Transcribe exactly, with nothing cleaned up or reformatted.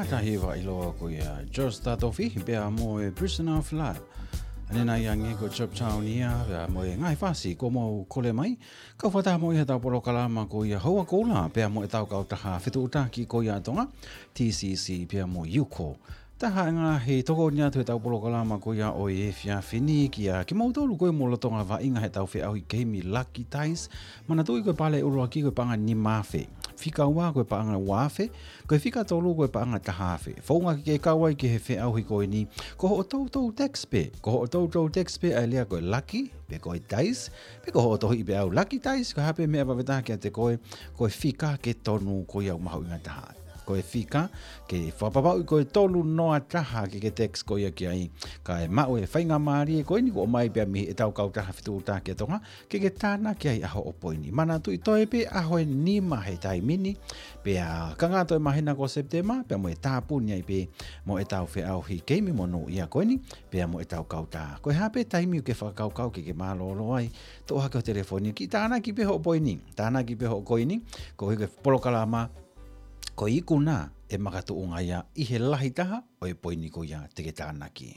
Tahi ʻa e ʻiloa ko ia Josh Tatofi, pea mo e Prisoner of Love. ʻA eni ʻa ia ko Chop Town ia, pea mo e ngaahi fasi kuo mou kole mai. Kau fakataha mo ia ʻetau polokalama ko ia Houa Koula, pea mo ʻetau kautaha fetuʻutaki ko ia ʻa Tonga, T C C, pea mo Yuko. Taha e ngaahi tokoni atu heʻetau polokalama ko ia ʻo e efiafi ni kiate kimoutolu ko ē ʻoku mou lolotonga vaʻinga heʻetau feʻauhi keimi Lucky Dice. Manatuʻi ko e pale ʻuluaki ko e paʻanga nima afe. Fika ua ko e paʻanga ua afe. Ko e fika tolu ko e paʻanga taha afe. Founga ke ke kau ai ki he feʻauhi ko eni. Ko hoʻo toutou text pē. Ko hoʻo toutou text pē ʻa e lea ko e Lucky, pe ko e Dice, pe ko hoʻo tohiʻi pē ʻe au Lucky Dice, ko e hā pē meʻa ʻe vave taha kiate koe, ko e fika ke tonu ko ia ʻoku mahuʻinga taha. Ko e fika ke fakapapauʻi ko e tolu noa taha ke ke text ko ia ki ai. Kae maʻu e faingamālie ko eni kuo ʻomai pē mei heʻetau kautaha fetuʻutaki ʻa Tonga, ke ke tānaki ai ʻa hoʻo poini. Manatuʻi toe pē ʻaho ʻe nima he taimi ni, pea ka ngata ʻi he māhina ko Sepitema, pea mo e tāpuni ai pē mo ʻetau feʻauhi keimi monūʻia ko eni, pea mo ʻetau kautaha. Ko e hā pē taimi ʻoku ke fakakaukau ke ke mālōlō ai, toʻo hake ho telefoni, kiʻi tānaki pē hoʻo poini, tānaki pē hoʻo koini, koeʻuhi ko e polokalama, ko e ikuna ʻe makatuʻunga ia ʻi he lahi taha ʻo e poini ko ia te ke tānaki.